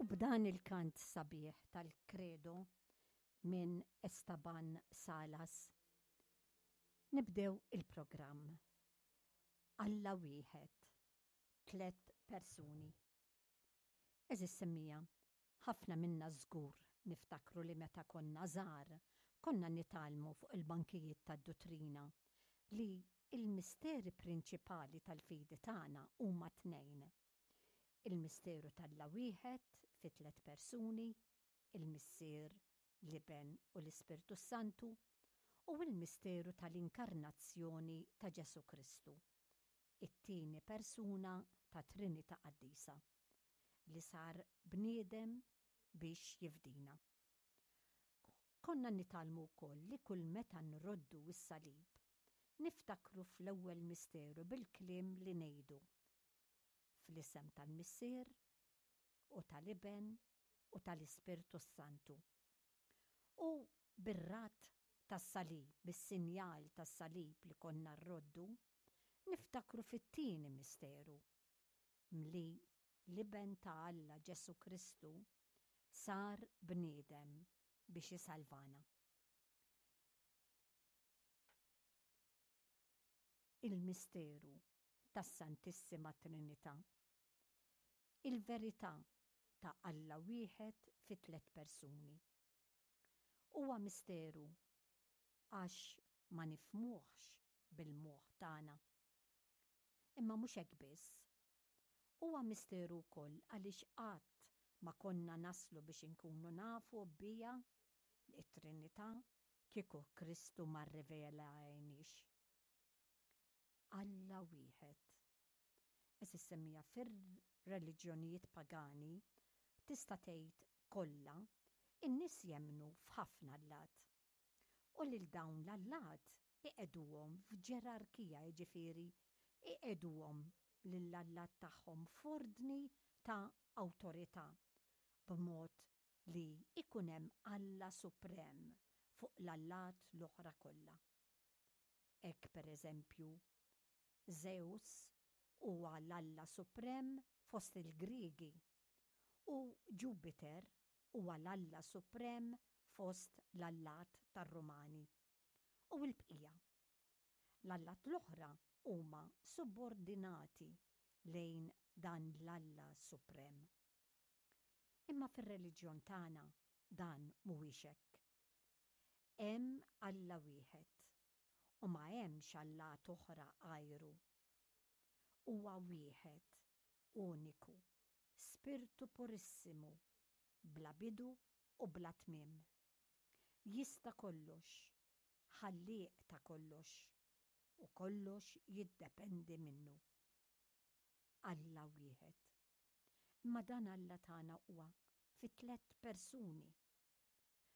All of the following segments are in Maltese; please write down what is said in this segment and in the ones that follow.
U b'dan il-kant sabiħ tal-Credo minn Estaban Salas, nibdew il-programm. Alla wieħed, tlett persuni. Għeżież semmija, ħafna minna żgur niftakru li meta konna żgħar konna nitgħallmu fuq il-bankijiet tad-duttrina li l-misteri prinċipali tal-fidi tagħna huma tnejn. Il-misteru t'Alla wieħed fi tlett persuni, il-Missier, l-Iben u l-Ispirtu s-Santu, u l-misteru tal-Inkarnazzjoni ta' Ġesù Kristu, it-tieni persuna tat-Trinità Qaddisa, li sar bniedem biex jifdina. Konna nitgħallmu wkoll li kull meta nroddu s-salib, niftakru fl-ewwel misteru bil-kliem li ngħidu, Fl-isem tal-Missier, u tal-Iben, u tal-Ispirtu s-Santu. U bir-radd tas-salib, bis-sinjal tas-salib li konna rroddu, niftakru fit-tieni misteru, mli l-Iben ta' Alla Ġesù Kristu sar bniedem biex isalvana. Il-misteru tas-Santissima Trinità. Il-verità ta' Alla wieħed fi tlett persuni. Huwa misteru għax ma nifhmuhx bil-moħħ tagħna. Imma mhux hekk biss. Huwa misteru wkoll għaliex qatt ma konna naslu biex inkunu nafu biha, it-Trinità, kieku Kristu ma rrivelahieniex. Alla wieħed. Għeżież semmiegħa fir-reliġjonijiet pagani, tista' tgħid kollha, in-nies jemmnu f'ħafna allat. U lil dawn l-allat iqegħduhom f'ġerarkija, jiġifieri iqegħduhom lill-allat tagħhom f'ordni ta' awtorità, b'mod li jkun hemm Alla suprem fuq l-allat l-oħra kollha. Hekk per eżempju, Żews huwa l-alla suprem fost il-Griegi u Ġupiter huwa l-alla suprem fost l-allat tar-Rumani. U l-bqija. L-allat l-oħra huma subordinati lejn dan l-alla suprem. Imma fir-reliġjon tagħna dan mhuwiex hekk. Hemm Alla wieħed u ma hemmx allat oħra għajru. Huwa wieħed, uniku, Spirtu purissimu, bla bidu u bla tmiem. Jista' kollox, Ħallieq ta' kollox, u kollox jiddependi minnu. Alla wieħed. Imma dan Alla tagħna huwa fi tlett persuni.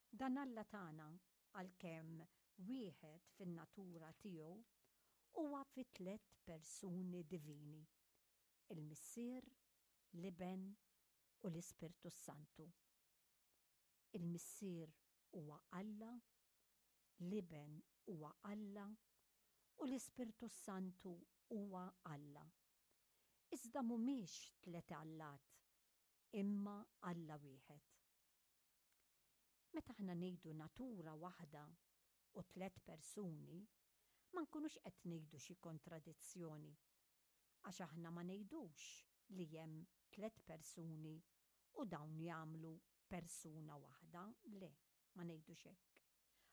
Dan Alla tagħna, għalkemm wieħed fin-natura tiegħu, huwa fi tlett persuni divini, il-Missier, l-Iben u l-Ispirtu s-Santu. Il-Missier huwa Alla, l-Iben huwa Alla u l-Ispirtu s-Santu huwa Alla. Iżda mhumiex tliet allat, imma Alla wieħed. Meta aħna ngħidu natura waħda u tlett persuni, ma nkunux qed ngħidu xi kontradizzjoni, għax aħna ma ngħidux li hemm tlett persuni u dawn jagħmlu persuna waħda, le, ma ngħidux hekk.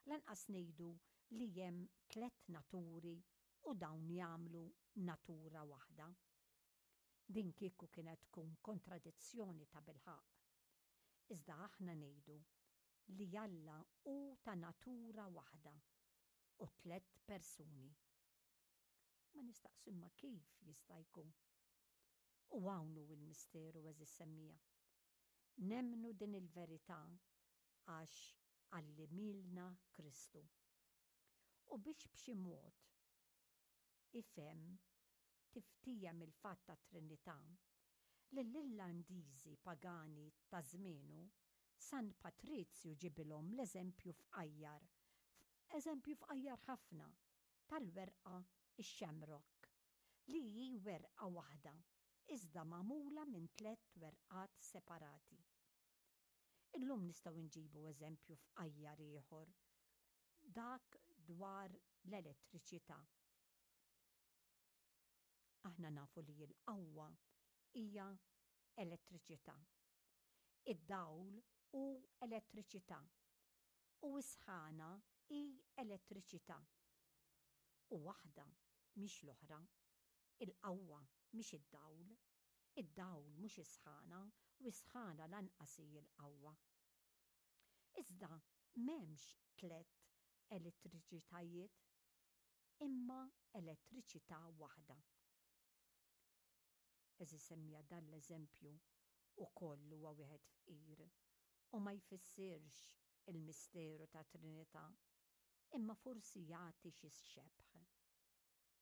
Lanqas ngħidu li hemm tlett naturi u dawn jagħmlu natura waħda. Din kieku kienet tkun kontradizzjoni tabilħaqq. Iżda aħna ngħidu li Alla hu ta' natura waħda u tlett persuni. Ma nistaqsu imma kif jista' jkun? U hawn hu l-misteru għeżież semmiegħa. Nemmnu din il-verità għax għallimilna Kristu. U biex b'xi mod ifhem tiftiehem il-fatt tat-Trinità, lill-Irlandiżi pagani ta' żmienu, San Patrizju ġibilhom l-eżempju fqajjar, eżempju fqajjar ħafna, tal-werqa x-shamrock, li hi werqa waħda, iżda magħmula minn tlett werqat separati. Illum nistgħu nġibu eżempju fqajjar ieħor, dak dwar l-elettriċità. Aħna nafu li l-qawwa hija elettriċità. Id-dawl hu elettriċità u s-sħana hi elettriċità. U waħda mhix l-oħra. Il-qawwa mhix id-dawl. Id-dawl mhux is-sħana u s-sħana lanqas hi l-qawwa. Iżda m'hemmx tlett elettriċitajiet imma elettriċità waħda. Għeżież semmija dan l-eżempju ukoll huwa wieħed fqir u ma jfissirx il-misteru tat-Trinità, imma forsi jagħti xi xebh.